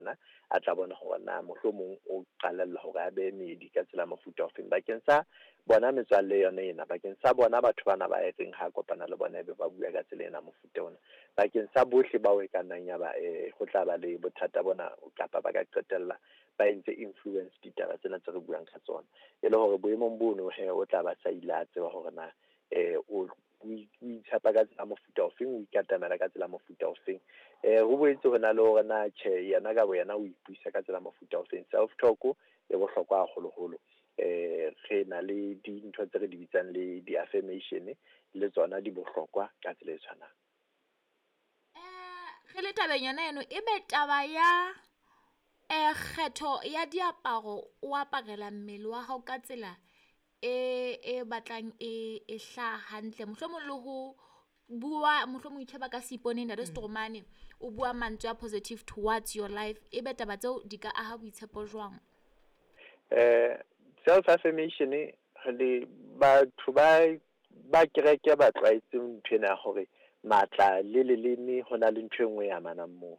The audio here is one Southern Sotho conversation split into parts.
yena a tla bona hore na mohlomong o qalella hore a behe meedi ka tsela mofuta ofeng bakeng sa bona metswalle yona ena, bakeng sa bona batho bana ba e reng ha kopana le bona ebe ba bua ka tsela ena mofuta ona, bakeng sa bohle bao e ka nnang ya ba ho tla ba le bothata bona kapa ba ka qetella ba entse influence ditaba tsena tse re buang ka tsona. E le hore boemong bono he o tla ba sa ile a tseba hore na o itshepa ka tsela mofuta ofeng, o ikatamela ka tsela mofuta ofeng. Ho boetse ho na le hore na tjhe yena ka boyena o ipuisa ka tsela mofuta ofeng. Self talk e bohlokwa haholoholo. Re na le dintho tse re di bitsang le di-affirmation le tsona di bohlokwa ka tsela e tshwanang. Re le tabeng yona eno, ebe taba ya kgetho ya diaparo o aparela mmele wa hao ka tsela e batlang e hlaha hantle, mohlomong le ho bua, mohlomong itjheba ka seipone ntate Stromane, o bua mantswe a positive towards your life, ebe taba tseo di ka aha boitshepo jwang? Self affirmation le batho ba kereke ba tlwaetse ntho ena ya hore matla le leleme ho na le ntho e nngwe e amanang moo.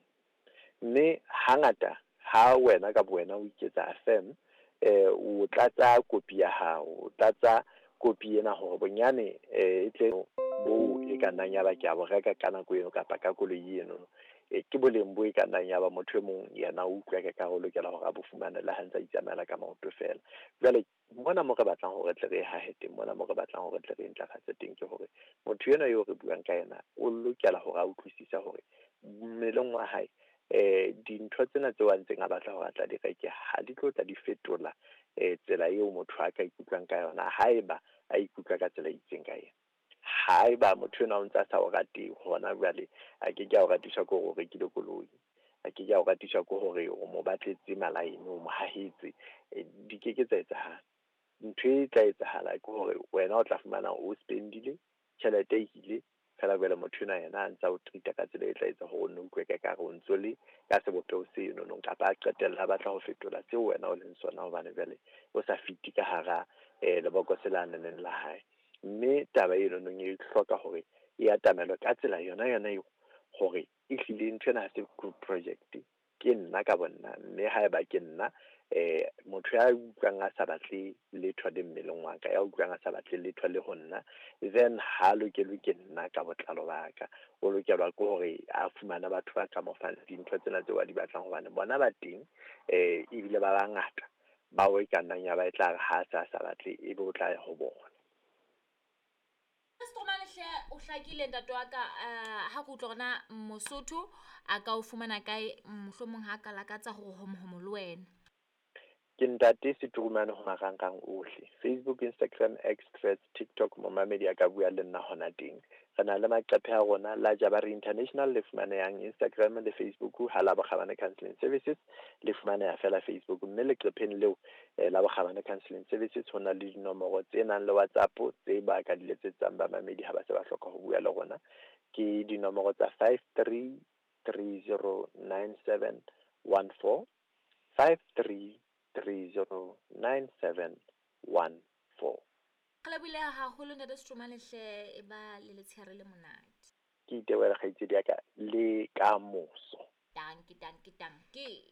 Mme hangata ha wena ka bowena o iketsa affirm, o tlatsa kopi ya hao, o tlatsa kopi ena hore bonyane e tle bo e ka nnang ya ba ke a bo reka ka nako eno kapa ka koloi eno. Ke boleng bo e ka nnang ya ba motho e mong yena o utlwa ka o lokela hore a bo fumane le ha ntse a itsamaela ka maoto fela. Jwale mona mo re batlang hore tle re hahe teng, mona mo re batlang hore tle re ntlafatse teng ke hore motho enwa eo re buang ka yena o lokela hore a utlwisise hore mmeleng wa hae dintho tsena tseo a ntseng a batla hore a tla di reke ha di tlo tla di fetola tsela eo motho a ka ikutlwang ka yona haeba a ikutlwa ka tsela e itseng ka yena. Haeba motho enwa o ntse a sa o rate hona jwale, a ke ke a o ratiswa ke hore o rekile koloi, a ke ke a o ratiswa ke hore o mo batletse malaene, o mo hahetse, di ke ke tsa etsahala. Ntho e tla etsahala ke hore wena o tla fumana o spendile tjhelete e ile fela, jwale motho enwa yena a ntsa o treat-a ka tsela e tla etsa hore o nno utlwe ka ekare o ntso le ka sebopeho seno nong, kapa a qetella a batla ho fetola seo wena o leng sona hobane jwale o sa fite ka hara lebokose la neneng la hae. Mme taba eno nong e hloka hore e atamelwe ka tsela yona yona eo, hore ehlile ntho ena ha se group project, ke nna ka bonna. Mme haeba ke nna motho ya utlwang a sa batle letho le mmeleng wa ka, ya utlwang a sa batle letho le ho nna, then ha lokelwe ke nna ka botlalo ba ka. O lokelwa ke hore a fumane batho ba ka mo fang dintho tsena tseo a di batlang, hobane bona ba teng ebile ba bangata bao e ka nnang ya ba e tla re ha a sa batle ebe o tla ya ho bona. Stromane hle o hlakile ntate wa ka, ha ke utlwa hore na Mosotho a ka o fumana kae, mohlomong ha ka lakatsa hore homohomo le wena. Ke ntate Seturumane ho marangrang ohle, Facebook, Instagram, X, Threads, TikTok, momamedi a ka bua le nna hona teng. Re na le maqephe a rona la Jabari International le fumanehang Instagram le Facebook, ha la Bokgabane Counselling Services le fumaneha fela Facebook, mme leqepheng leo la Bokgabane Counselling Services ho na le dinomoro tse nang le WhatsApp tse ba ka di letsetsang bamamedi ha ba se ba hloka ho bua le rona. Ke dinomoro tsa 53309714, 53309714. Re lebohile haholo ntate Stromane hle, e ba le letshehare le monate. Ke itebohela kgaitsedi ya ka le ka moso. Danke, danke, danke.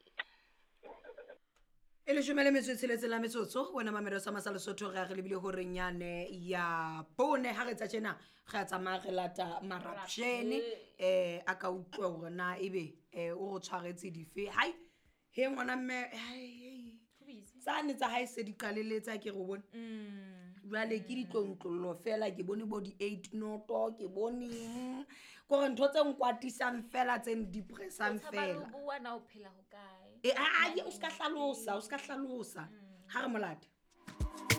E leshome le metso e tsheletseng la metsotso, wena mamelo sa masa Lesotho, re a re lebile horeng yane ya bone. Ha re tsa tjena re a tsamaya re lata marapshene, a ka utlwa hore na ebe o re tshwaretse dife. Hai he ngwana mme, hai tsane tsa hae se di qaleletse, ke re o bone. Jwale ke ditlontlollo fela, ke bone bo di-8 noto, ke bone kore ntho tse nkwatisang fela, tse ndepressang fela. O bua na o phela ho kae? O ska hlalosa, o ska hlalosa. Ha re molate.